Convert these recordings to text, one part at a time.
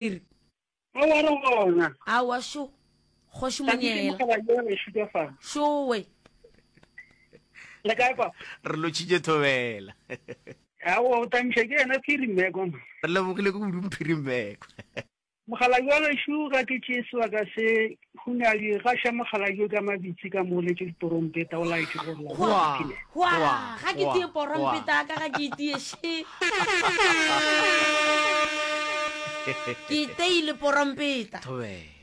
Phiri. Aowa re gona. Aowa šo. Kgoši Monyela. Šowe. Le kae papa? Re lotšhitše thobela. Aowa o tamiša ke yena Phiri Mmeko. Re lebogile kudu Mphiri Mmeko. Mokgalabje wa gešo ga ke tšee sebaka se Hunadi gaša mokgalabje ka mabitsi ka mo letše diporompeta o laetše gore la Hwa, hwa, ga ke tie porompeta ka ga ke itie še. Ke iteile porompeta.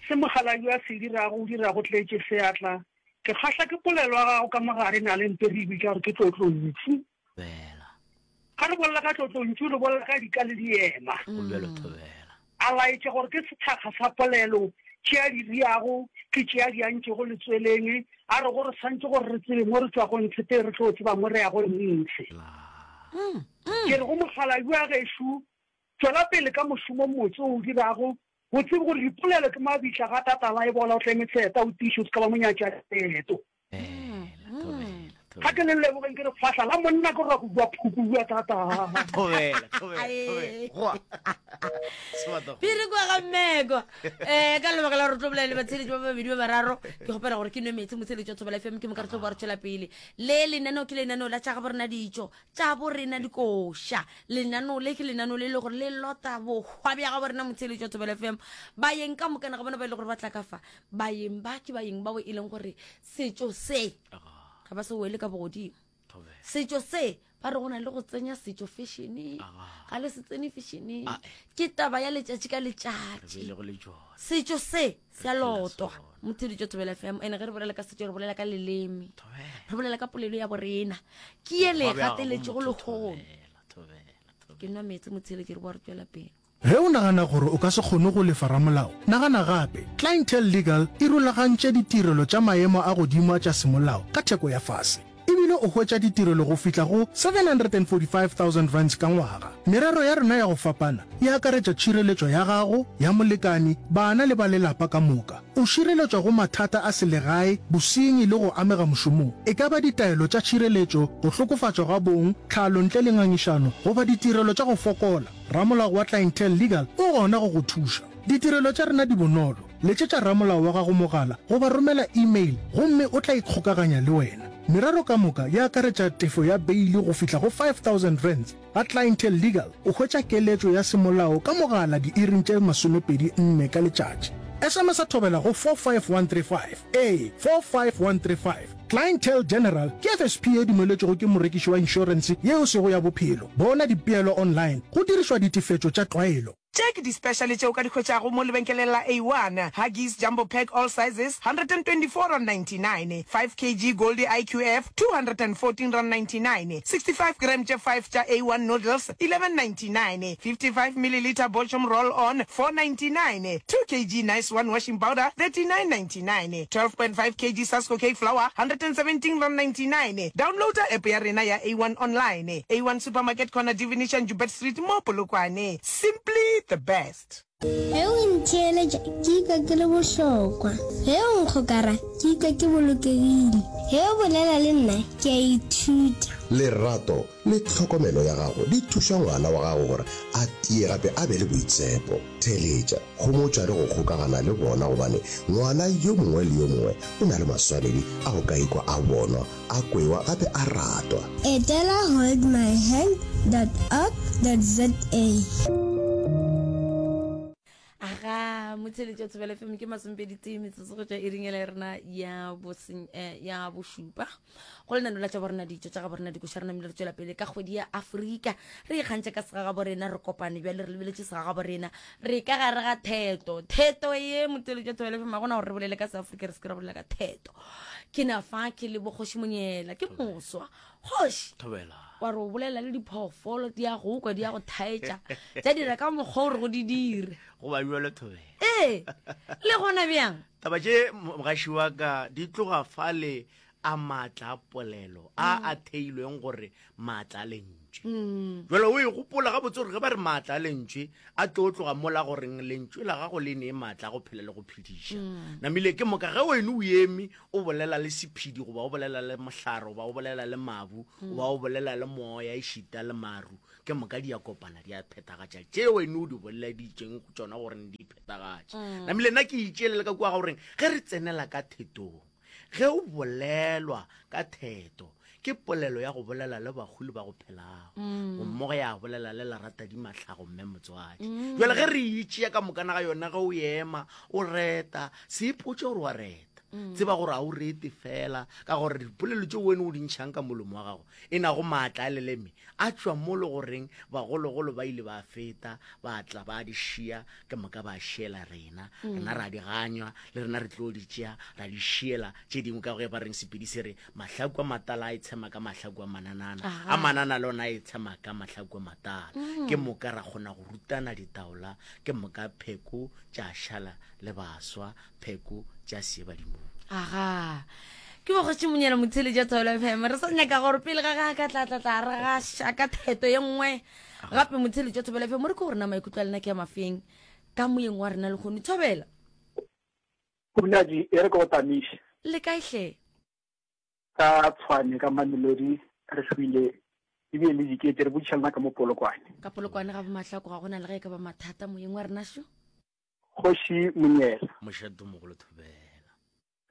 Se mokgalabje a se dirago o dira go tletše seatla. Ke kgahla ke polelo ya gago ka mogare na le mpe re e bitša gore ke tlotlontšu. Thobela. Ga re bolela ka tlotlontšu re bolela ka dika le diema. Go bjalo Thobela. A laetša gore ke sethakga sa polelo tše a di riago ke tše a di antšego letsweleng. A re go re swantše gore re tsebe mo re tšwago ntshe pele re tlo tseba mo re yago ntshe. Ke re go mokgalabje wa gešo tšwela pele ka mošomo mmotse o o dirago, o tsebe gore dipolelo ke mabitla ga tatala e bola o tleme tsheta o tiiše o se ka ba monyatšaleeto. Ga ke le lebogeng ke re fahla la monna ke rwa go bua phuku bua thata. Thobela, thobela, thobela. Goa. Sebata go. Piri kwa ga mmeko. Eh ka lebaka la gore tlo bolela le batsheletši ba babedi ba bararo ke kgopela gore ke nwe metsi motsheletši wa Thobela FM ke moka re tlo boa re tšwela pele. Le lenaneo ke lenaneo la tša ga borena ditšo tša borena dikoša. Lenaneo le ke lenaneo le e le gore le lota bohwa bja ga borena motsheletši wa Thobela FM. Baeng ka mokana ga bona ba e le gore ba tla ka fa Baeng ba ke baeng bao e leng gore setšo se ga ba se wele ka bogodimo. Setšo se ba re go na le go tsenya setšo fešeneng, ga le se tsene fešeneng, ke taba ya letšatši ka letšatši. Setšo se se a lotwa. Motheletšo Thobela FM, ene ge re bolela ka setšo re bolela ka leleme, re bolela ka polelo ya borena, ke ye le gateletšego lehono. Ke nwa meetse motheletši re boa re tšwela pele. Ge o nagana gore o ka se kgone go lefa ramolao, nagana gape. Clientele Legal e rulagantše ditirelo tša maemo a godimo a tša semolao ka theko ya fase. E bile o hwetša ditirelo go fihla go R745,000 ka ngwaga. Merero ya rena ya go fapana e akaretša tšhireletšo ya gago, ya molekani, bana le ba lelapa ka moka. O šireletšwa go mathata a selegae, bosenyi le go amega mošomong, e ka ba ditaelo tša tšhireletšo, go hlokofatšwa ga bong, tlhalo ntle le ngangišano goba ditirelo tša go fokola. Ramolao wa Clientele Legal o gona go go thuša. Ditirelo tša rena di bonolo. Letšetša ramolao wa gago mogala goba romela email gomme o tla ikgokaganya le wena. Merero ka moka e akaretša tefo ya beili go fihla go R5000. Ga Clientele Legal o hwetša keletšo ya semolao ka mogala diiring tše 24 ka letšatši. SMS-a thobela go 45135. Ee, 45135. Clientele General ke FSP ye dumeletšwego ke morekiši wa inšorense ye e sego ya bophelo. Bona dipeelo online go dirišwa ditefetšo tša tlwaelo. Tše ke di-special tše o ka di hwetšago mo lebenkeleng la A1, Huggies Jumbo Pack All Sizes, R124.99, 5 kg Goldie IQF, R214.99, 65 gram tše 5 tša A1 Noodles, R11.99, 55 millilitre Bochum Roll On, R4.99, 2 kg Nice One Washing Powder, R39.99. 12.5 kg Sasko Cake Flour, R117.99. Downloada app ya rena ya A1 Online. A1 Supermarket Corner Divination Joubert Street mo Polokwane. Simply the best. Ge o ntheeletša ke ikwa ke le bohlokwa. Ge o nkgokara ke ikwa ke bolokegile. Ge o bolela le nna ke a ithuta. Lerato le tlhokomelo ya gago di thuša ngwana wa gago gore a tie gape a be le boitshepo. Theeletša, homotša le go kgokagana le bona gobane ngwana yo mongwe le yo mongwe o na le maswanedi a go ka ikwa a bonwa, a kwewa gape a ratwa. Etela holdmyhand dot org dot za. Aga, motheletši wa Thobela FM ke masomepedi tee metsotso go tšwa iring ela ya rena ya boseng eh, ya bošupa go lenano la tša borena ditšo tša ga borena dikoša re namile re tšwela pele ka kgwedi ya Afrika re ikgantšha ka segagabo rena re kopane bjale re lebeletše segagabo rena re ka gare ga theto theto ye motheletši wa Thobela FM ga gona gore re bolele ka seafrika re se ke ra bolela ka theto ke na fa ke le bokgoši monyela ke moswa kgoši Thobela. wa re o bolela le diphoofolo di ya go kwa di ya go thaetša tša dira ka mokgwa o re go di dire Go ba bjalo Thobela. ee le gona bjang Taba tše mogaši wa ka di tloga fale a maatla a polelo a a theilweng gore maatla a lentšwe. Jwale o e gopola gabotse gore ge ba re maatla a lentšwe a tlo tloga mola goreng lentšwe la gago le nee maatla a go phela le go phediša. Namile ke moka ge wene o eme o bolela le sephedi goba o bolela le mohlare goba o bolela le mabu goba o bolela le moya ešita le maru. Ke moka di a kopana di a phethagatša tše wene o di boleleditšeng go tšona gore di phethagatše. Namile nna ke itšeelele ka kua ga goreng ge re tsenela ka thetong, ge o bolelwa ka theto ke polelo ya go bolela le bahu le ba go phelago, mmogo ya bolela le leratadima tlhago mme motswadi. Jwale ge re itšea ka mokana ga yona, ge o ema o reta, se ipotše gore wa reta, tseba gore ga o rete fela, ka gore dipolelo tše wene o di ntšhang ka molomo wa gago e nago maatla a leleme a tšwa mo le goreng bagologolo ba ile ba feta ba tla ba di šia, ke moka ba šiela rena, rena ra di ganywa, le rena re tlo di tšea ra di šiela tše dingwe, ka ge ba reng Sepedi se re mahlaku a matala a itshema ka mahlaku a mananana, a manana le ona a itshema ka mahlaku a matala. Ke moka ra kgona go rutana ditaola, ke moka pheko tša šala le baswa, pheko tša sie badimong. Aga. Ke bokgoši Monyela Motheletša Thobela FM. Re sa nyaka gore pele ga ga ka tla tla tla re gaša ka theto ye nngwe gape Motheletša Thobela FM. Re ke gore na maikutlo a lena ke a mafeng ka moyeng wa rena lehono. Thobela. Khumnaji, e re ke go tamiše. Le kae hle? Ka Tshwane, ka Mamelodi, re hlwile ebile le dikete, re botšiša lena ka mo Polokwane. Ka Polokwane ga boMahlako ga gona le ge e ka ba mathata moyeng wa rena šo. Kgoši Monyela. Mošate o mogolo Thobela.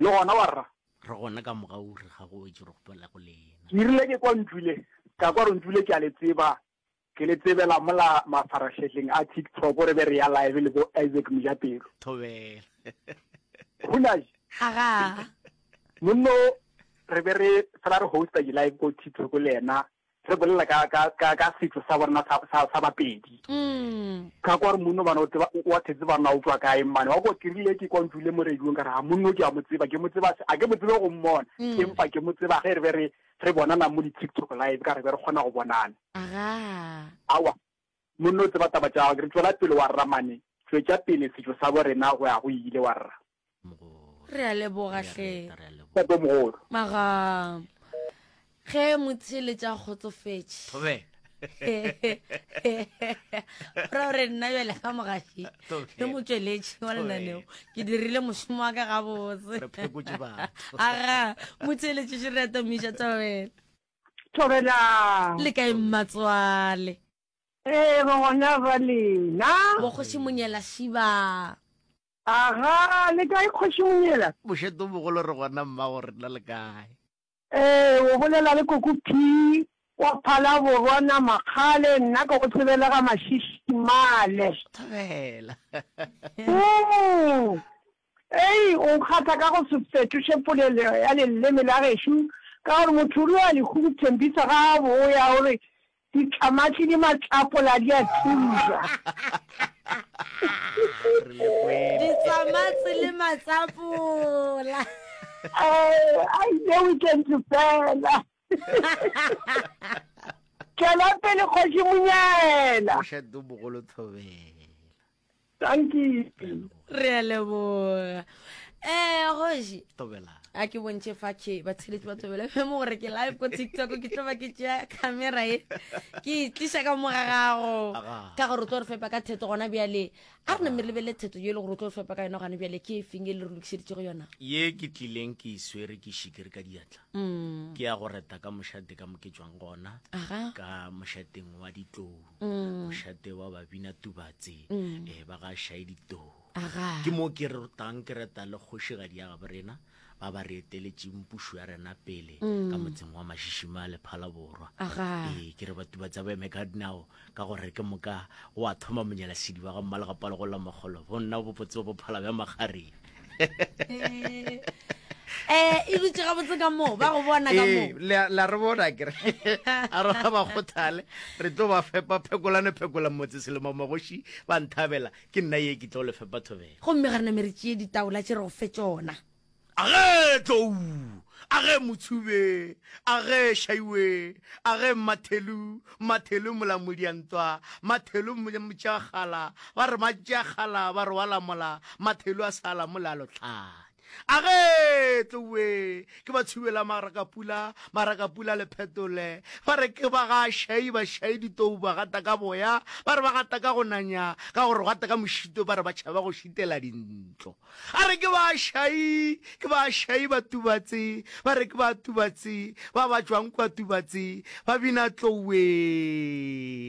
Le gona wa rra? Re gona ka mogau re ga go wetše re gopela go lena. Ke rile ke kwa Ntšule, ka kwa gore Ntšule ke a le tseba, ke le tsebela mola mafarašehleng a TikTok re be re ya live le bo Isaac Mojapelo. Thobela. Hunaji. Aga. Monno re be re fela re hosta di live ko TikTok le yena re bolela ka ka ka ka setso sa borena sa sa sa Bapedi. Mm. Ka kwa re monno bana o tseba wa thetse bana o tswa kae mmane wa kwa ke rile ke kwa ntšule mo radiong ka re ha monno ke a mo tseba ke mo tseba a ke mo tsebe go mmona Mm. empa ke mo tseba ge re be re re bonana mo di TikTok live ka re be re kgona go bonana. Aga. Awa monno o tseba taba tša gago ke re tšwela pele wa rra mane tšwetša pele setšo sa borena go ya go ile wa rra. Re a leboga hle. Tate mogolo. Maga ge motheeletša a kgotsofetše. Thobela. Ra gore nna bjale ga mogaši le motšweletši wa lenaneo ke dirile mošomo wa ka gabotse. Re phekotše batho. Aga motheeletši še re atomiša thobela. Thobela. Le kae mmatswale? Ee, re gona ba lena. Bokgoši Monyela Šiba. Aga, le kae Kgoši Monyela? Mošate o mogolo re gona mmago rena le kae? Ee, o bolela le Koko P wa Phalaborwa Namakgale, nna ke go tsebele ga Mašišimale. Thobela. Ooh, ei, o nkgatha ka go se fetoše polelo ya leleme la gešo, ka gore motho o rile a lehu go Thembisa ga a boya o re Ditlamatli di matlapola di a thuša. Ditlamatli le matlapola. Eh, a ile weekend fela. Tšwela pele Kgoši Monyela. Mošate o mogolo Thobela. Dankie. Re a leboga. Eh, Kgoši. Thobela. A ke bontšhe fa ke ba tsheletše ba thobela fe mo gore ke live ko TikTok ke tlo ba ke tšea camera e ke e tliša ka mo ga gago ka gore o tlo re fepa ka theto gona bjale a re name re lebelele theto ye e le gore o tlo re fepa ka yona gona bjale ke e feng e le re lokišeditšego yona ye ke tlileng ke e swere ke šikere ka diatla mm. ke ya go reta ka mošate ka mo ke tšwang gona ka mošateng wa ditlou mm. mošate wa babina tubatse mm. eh, ba ga šai ditou Aga. ke mo ke rotang ke reta le kgošigadi ya gabo rena ba ba re eteletšeng pušo ya rena pele Mm. ka motseng wa Mašišima le Phalaborwa. Aga. Ee, ke re Batubatse ba eme ka dinao ka gore ke moka go a thoma monyalasedi wa ga Mmalegapalo go la Makgolo bonna bo botse bo phala bja makgareng. Eh, e dutše gabotse ka moo ba go bona ka moo Ee, le a- le a re bona kere a re ga ba kgothale re tlo ba fepa phekolane phekola motse selemo magoši ba nthabela ke nna ye ke tlo le fepa thobela gomme ga re name re tšee ditaola tše re go fe tšona Age tlou, age motshube, age shaiwe, age mathelu, mathelu molamodiantwa, mathelu motšeakgala, ba re matšeakgala ba re wa lamola, mathelu a sa lamola a lotlhanya. A ge tlowe ke ba tshubela marakapula, marakapula le phetole. Ba re ke ba ga Shai, ba Shai ditou ba gata ka boya, ba re ba gata ka go nanya, ka gore gata ka mošito ba re ba tšhaba go šitela dintlo. A re ke ba Shai, ke ba Shai ba Tubatse, ba re ke ba Tubatse, ba ba tšwang kwa Tubatse, ba bina tlowe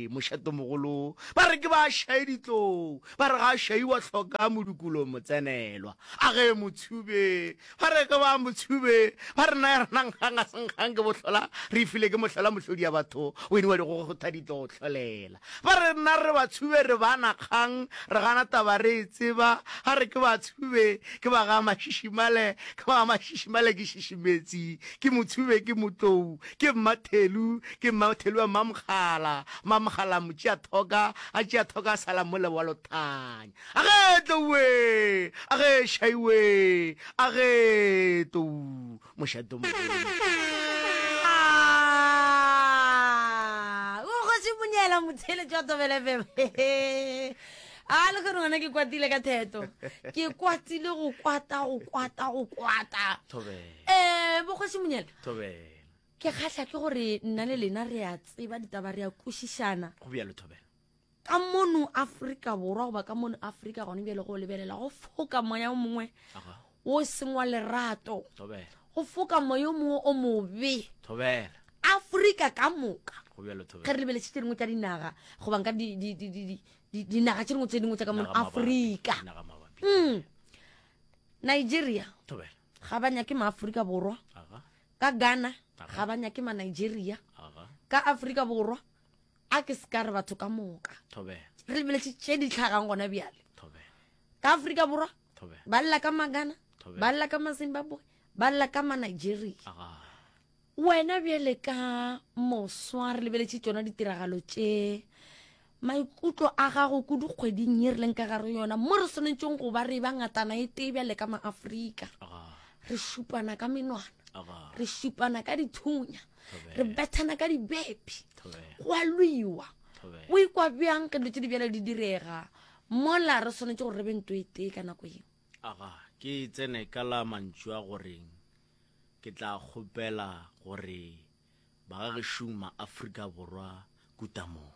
mošatomogolo. Ba re ke ba Shai ditlou, ba re ga Shai wa hloka modukolo motsenelwa. A ge motshube, ba re ke ba motshube, ba re na ya rena nkgang a se nkgang ke bohlola, re ifile ke mohlola mohlodi ya batho, o eniwa digogotha di tlo hlolela. Ba re nna re batshube re bana kgang, re gana taba re e tseba, ga re ke batshube, ke ba ga mašišimale, ke ba ga mašišimale ke šišimetsi, ke motshube ke motlou, ke mmathelu, ke mmathelu wa mmamokgala, mmamokgala motšeathoka, a tšeathoka a sala mole wa lothanya. A ge tlou we! A ge shai we! A ge tlou mošate mogolo. Ah, o kgoši monyela motheletši wa Thobela FM. A le kgone ngwana ke kwatile ka theto. Ke kwatile go kwata go kwata go kwata. Thobela. Eh, bokgoši monyela. Thobela. Ke kgahla ke gore nna le lena re a tseba ditaba re a kwešišana. Go bjalo Thobela. Ka mono Afrika Borwa goba ka mono Afrika gone bjale go lebelela go foka moya o mongwe wo seng wa lerato, go foka moya o mongwe o mobe Afrika ka moka. Ge re lebeletše tše dingwe tša dinaga goba nka dinaga tše dingwe tše dingwe tša ka mono Afrika, mm. Nigeria ga ba nyake maAfrika Borwa, ka Ghana ga ba nyake ma Nigeria, ka Afrika Borwa a ke se ka re batho ka moka re lebeletše tše di tlhagang gona bjale ka Afrika Borwa ba lla ka Magana, ba lla ka Mazimbabwe, ba lla ka Manigeria. Wena bjale ka moswa re lebeletše tšona ditiragalo tše, maikutlo a gago kudu kgweding ye re leng ka gare yona mo re swanetšeng go ba re ba ngatana e tee bjale ka Maafrika, re šupana ka menwana, re šupana ka dithunya, re bethana ka dibepi, go a lwiwa. O ikwa bjang ge dilo tše di bjalo di direga mola re swanetše gore re be nto e tee ka nako yeo? Aga, ke tsene ka la mantšu a goreng ke tla kgopela gore bagagešung ma-Afrika Borwa kutamong.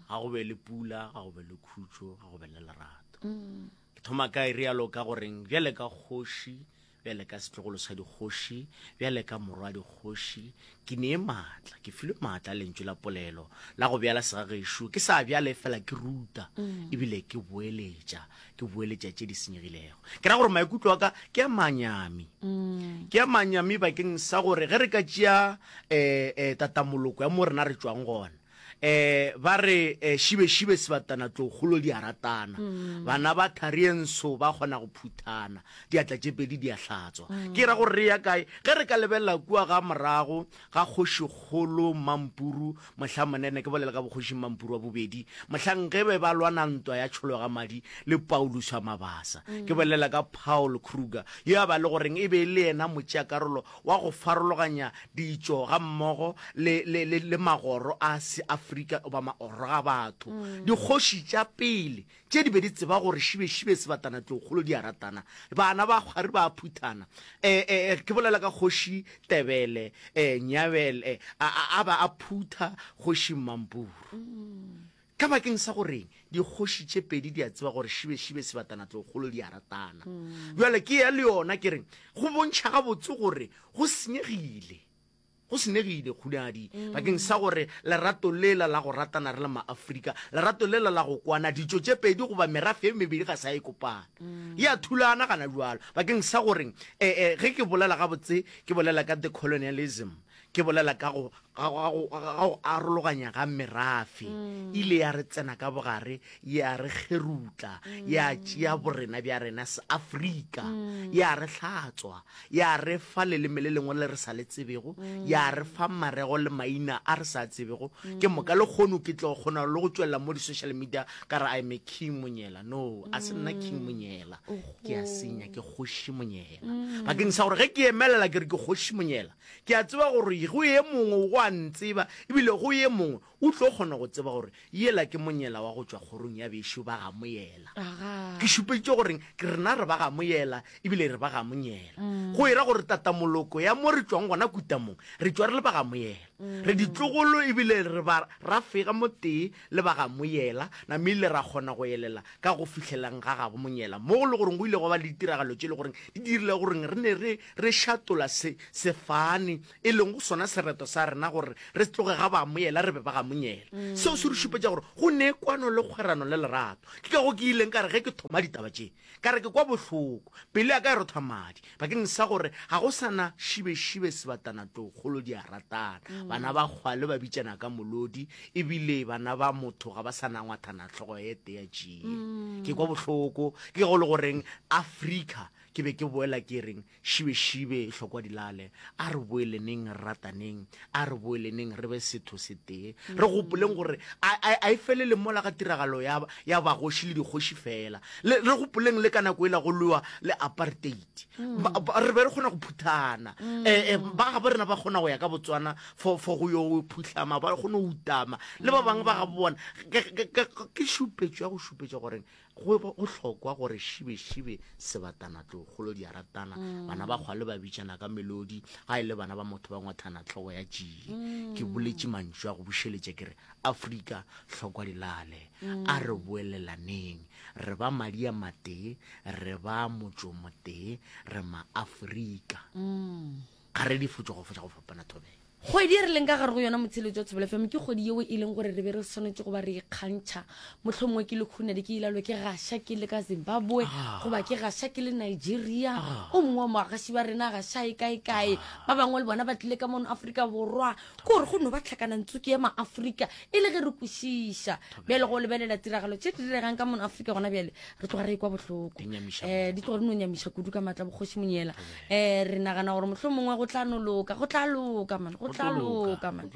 Ga go be le pula, ga go be le khutšo, ga go be le lerato. Ke thoma ka e rialo ka goreng bjale ka kgoši, bjale ka setlogolo sa dikgoši, bjale ka morwa dikgoši, ke nee maatla, ke filwe maatla a lentšu la polelo la go bjala segagešo, ke sa bjale fela ke ruta, ebile ke boeletša, ke boeletša tše di senyegilego. Ke ra gore maikutlo a ka ke a manyami, ke a manyami bakeng sa gore ge re ka tšea um tatamoloko ya mo rena re tšwang gona, um ba re um šibešibe sebatana tlogolo di a ratana, bana ba tharienso ba kgona go phuthana, diatla tše pedi di a hlatswa. Ke ra gore re ya kae ge re ka lebelela kua ga morago ga kgošikgolo Mampuru, mohla monene, ke bolela ka bokgoši Mampuru wa bobedi, mohlang ge be ba lwana ntwa ya tšholo ga madi le Paulus wa Mabasa. Ke bolela ka Paul Kruger, yo a ba le goreng e be e le yena motšeakarolo wa go farologanya ditšo gammogo le, le, le, le magoro a Seafrika goba magoro a batho. Dikgoši tša pele tše di be di tseba gore šibešibe sebatana tlokgolo di a ratana, bana ba kgwari ba a phuthana. E, e, e, ke bolela ka kgoši Tebele, e, Nyabele, a, a, a ba a phutha kgoši Mmampuru. Ka bakeng sa goreng dikgoši tše pedi di a tseba gore šibešibe sebatana tlokgolo di a ratana. Bjale ke ya le yona ke reng go bontšha gabotse gore go senyegile. Go senegile, Kgunadi, bakeng sa gore lerato lela la go ratana re le Maafrika, lerato lela la go kwana, ditšo tše pedi goba merafe e mebedi ga sa e kopana. E a thulana gana bjalo. Bakeng sa gore, e, e, ge ke bolela gabotse, ke bolela ka decolonialism, ke bolela ka go, ga, ga, go, ga go arologanya ga merafe. Ile ya re tsena ka bogare, ya re kgerutla, ya tšea borena bja rena Seafrika, ya re hlatswa, Ya re fa leleme le lengwe le re sa le tsebego, ya re fa marego le maina a re sa a tsebego. Ke moka lehono ke tlo kgona le go tšwelela mo di-social media ka re I'm a King Monyela. No, a se nna King Monyela. Ke a senya, ke Kgoši Monyela. Bakeng sa gore ge ke emelela ke re ke Kgoši Monyela, ke a tseba gore go ye mongwe go a ntseba, ebile go ye mongwe. O tlo kgona go tseba gore yela ke monyela wa go tšwa kgorong ya bešo ba ga Moyela. Ke šupeditše gore ke rena re ba ga Moyela ebile re ba ga Monyela. Go era gore tatamoloko ya mo re tšwang gona kutamong, re tšwa re le ba ga Moyela. Re ditlogolo ebile re ba ra fega motee le ba ga Moyela, namile ra kgona go elela ka go fihlelang ga gabo Monyela mo go le goreng go ile gwa ba le ditiragalo tše le goreng di dirile goreng re ne re re šatola se sefane e lego sona sereto sa rena gore re tloge ga ba Moyela re be ba ga Monyela. Mm. Seo se re šupetša gore go ne kwano le kgwerano le lerato. Ke ka go ke ileng ka re ge ke thoma ditaba tše, ka re ke kwa bohloko, pelo ya ka e rotha madi, bakeng sa gore ga go sa na šibešibe sebatana tlou kgolo di a ratana. Mm. Bana ba kgwale ba bitšana ka molodi, ebile bana ba motho ga ba sa na ngwathana hlogo e tee ya tšie. Mm. Ke kwa bohloko, ke go le goreng Afrika ke be ke boela ke reng Šibešibe hlokwa di lale. A re boeleneng re rataneng. A re boeleneng re be setho setee. Re gopoleng gore a, a, a e felele mola ga tiragalo ya, ya bagoši le dikgoši fela. Le, re gopoleng le ka nako ela go lwewa le apartheid. Ba, ba, re be re kgona go phuthana. Eh, eh, ba gabo rena ba kgona go ya ka Botswana for, for go yo phuhlama, ba kgone go utama. Le ba bangwe ba gabo bona. Ke, ke, ke, ke šupetšo ya go šupetša gore Go go hlokwa gore šibešibe sebatana tlogolo di a ratana, bana ba kgwale ba bitšana ka melodi, ga e le bana ba motho ba ngwathana hlogo ya tšie. Ke boletše mantšu a go bušeletša ke re, Afrika, hlokwa di lale, a re boelelaneng, re ba madi a matee, re ba motšo motee, re maAfrika. Ga re difotšo go fotša go fapana thobela. Kgwedi e re leng ka gare go yona motsheletso wa Thobela FM ke kgwedi yeo e leng gore re be re swanetše go ba re ikgantšha. Mohlomongwe ke le Khunadi ke ilalwe ke gaša ke le ka Zimbabwe ah. goba ke gaša ke le Nigeria. Ah. O mongwe wa moagaši ba rena gaša e kae kae. Ah. Ba bangwe le bona ba tlile ka mono Afrika Borwa. Ke gore go no ba tlhakanantsuke ya Maafrika e le ge re kwešiša. Bjale go lebelela tiragalo tše di diregang ka mono Afrika gona bjale re tloga re ekwa bohloko. Um di tloga di no nyamiša kudu ka maatla bokgoši Monyela. Eh, re nagana gore mohlomongwe go tla no loka, go tla loka man, go tla loka man.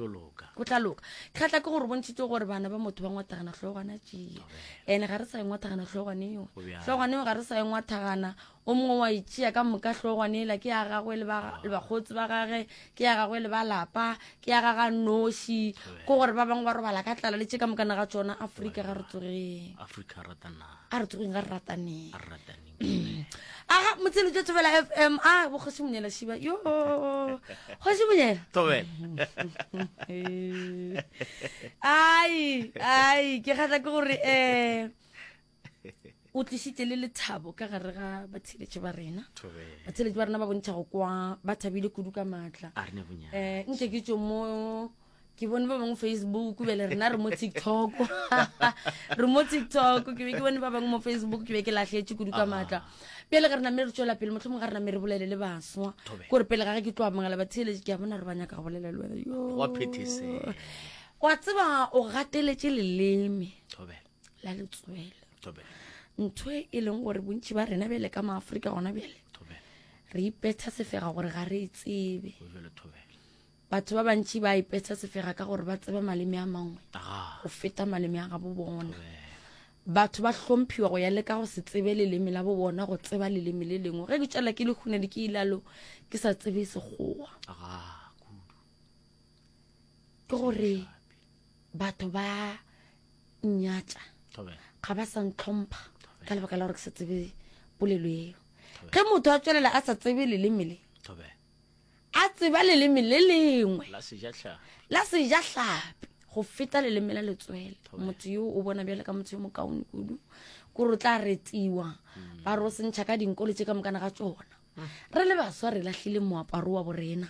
Go tla loka. Kgatla ke gore bontšhitše gore bana ba motho ba ngwathagana hlogwana tšee. Ene ga re sa e ngwathagana hlogwane eo. Hlogwane eo ga re sa e ngwathagana. O mongwe wa itšea ka moka hlogwane ela ke ya gagwe le bakgotsi ba gage, ke ya gagwe le ba lapa, ke ya gaga noši. Ke gore ba bangwe ba robala ka tlala le tše ka mokana ga tšona. Afrika ga re tsogeng. Afrika ratana. A re tsogeng ga re rataneng. A re rataneng. Aga motshelo tša Thobela FM a bo kgoši Monyela Shiba yo kgoši Monyela Thobela ai ai ke kgatla ke gore eh o tlišitše le lethabo ka gare ga batheletši ba rena batheletši ba rena ba bontšha go kwa ba thabile kudu ka maatla um nke ke tšo mo ke bone ba bangwe facebook bjale rena re mo tiktok re mo tiktok ke be ke bone ba bangwe mo facebook ke be ke lahletše kudu ka maatla bjale ge re name re tswela pele mohlomong ga re name re bolele le baswa kore pele ga ge ke tlo amogela batheeletše ke a bona re ba nyaka go bolela le wena yo wa tseba o gateletše leleme la letswele ntho e e leng gore bontši ba rena bjale ka maaforika gona bjale re ipetha sefega gore ga re e tsebe Batho ba bantši ba ipetsa sefega ka gore ba tseba maleme a mangwe go feta maleme a gabo bona. Batho ba hlomphiwa go ya le ka go se tsebe leleme la bo bona go tseba leleme le lengwe. Ge ke tšwela ke le hunedi ke ilalo ke sa tsebe sekgowa. Ke gore batho ba nnyatša ga ba sa ntlhompha ka lebaka la gore ke sa tsebe polelo eo. Ge motho a tswelela a sa tsebe leleme le a tseba leleme le lengwe la sejahlapi go feta leleme la letswele motho yo o bona bjale ka motho yo mokaone kudu kore o tla retiwa mm. ba re o sentšha ka dinko le tše ka mokana ga tsona mm. re le baswa re lahlile moaparo wa borena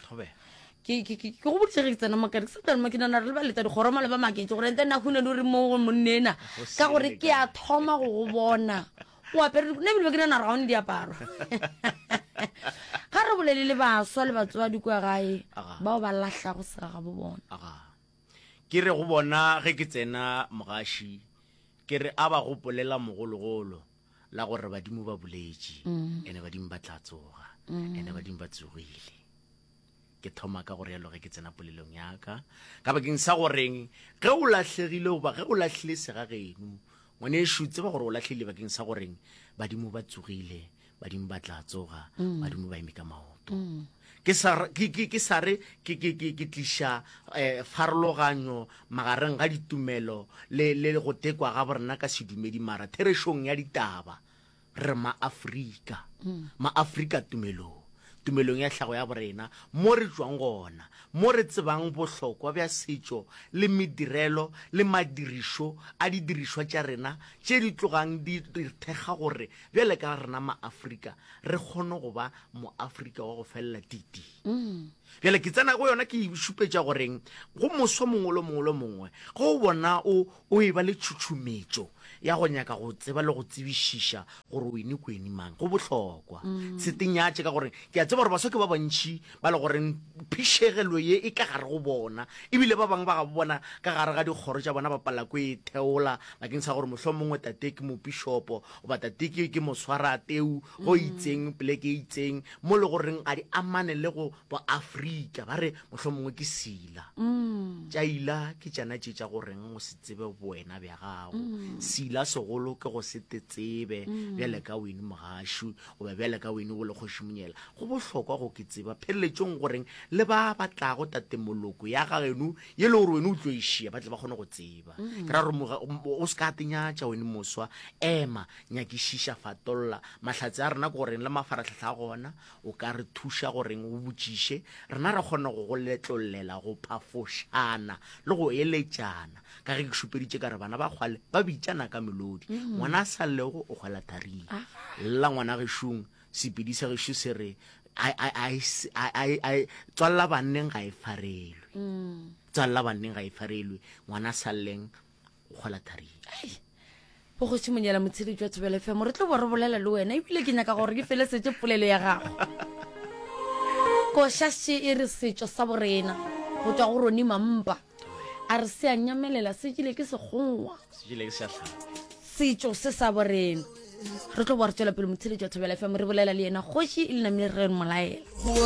ke go boditše ge ke tsena mokare ke sa tla ke nana re le ba leta dikgoro male ba maketse gore ente nna hune le re mo monnena ka gore ke a thoma go go bona o apere nna ebile be ke nana gore ga o ne diaparo ga re bolele le baswa le batswadi kua gae bao ba lahlago segagabo bona ke re go bona ge ke tsena mogaši ke re a ba gopolela mogologolo la gore badimo ba boletše mm. ene badimo ba tla tsoga mm. ene badimo ba tsogile ke thoma ka gore yalo ge ke tsena polelong ya ka ka bakeng sa goreng ge o lahlegile goba ge o lahlile segageno Ngwanešu, tseba gore o lahlehile bakeng sa goreng badimo ba tsogile, badimo ba tla tsoga, mm. badimo ba eme ka maoto. Mm. Ke sa, ke, ke, ke sa re ke, ke, ke, ke tliša eh, pharologanyo magareng ga ditumelo le, le go tekwa ga borena ka sedumedi, mara therešong ya ditaba, re Maafrika. Maafrika tumelong, tumelong ya tlhago ya borena, mo re tšwang gona, mo re tsebang bohlokwa bja setšo le medirelo le madirišo a didirišwa tša rena tše di tlogang di re thekga gore bjale ka rena Maafrika re kgone go ba Moafrika wa go felela titi. Bjale ke tsena go yona ke e šupetša goreng go moswa mongwe le mongwe le mongwe ge o bona o o e ba le tšhutšhumetšo ya go nyaka go tseba le go tsebišiša gore o ene kweni mang go bohlokwa. Se tenyatše ka gore ke a tseba gore baswa ke ba bantši ba le goreng phišegelo ye e ka gare go bona ebile ba bangwe ba gabo bona ka gare ga dikgoro tša bona ba palela ko e theola bakeng sa gore mohlomongwe tate ke mopišopo goba tate ke ke moswarateu go itseng poleke e itseng mo le goreng ga di amane le go boafrika ba re mohlomongwe ke sila tša ila ke tšana tše tša goreng o se tsebe bowena bja gago sila segolo ke go se te tsebe bjale ka wene mogašu goba bjale ka wene o le kgoši monyela go bohlokwa go ke tseba pheletšong goreng le ba ba tlago tate moloko ya gageno ye le gore wene o tlo e šia ba tle ba kgone go tseba ke ra gore o se ka tenyatša wene moswa ema nyakišiša fatolla mahlatse a rena ke goreng le mafaratlhatlha a gona o ka re thuša goreng o botšiše rena re kgone go go letlollela go phafošana le go eletšana ka ge ke šupeditše ka re bana ba kgwale ba bitšana ka melodi ngwana a sa llego o kgwela tharing lla ngwana gešong sepedi sa gešo se re tswalela banneng ga e farelwe tswalela banneng ga e farelwe ngwana a sa lleng o kgwela tharing bogoši monyela motsheletši wa thobela fm re tlo bo re bolela le wena ebile ke nyaka gore ke felesetse polelo ya gago košaše e re setšo sa borena go tšwa go roni mampa a re se a nyamelela se jile ke sekgowa setšo se sa borena re tlo bo re tswela pele motsheletši wa thobela fm re bolela le yena kgoši e le namile re molaela.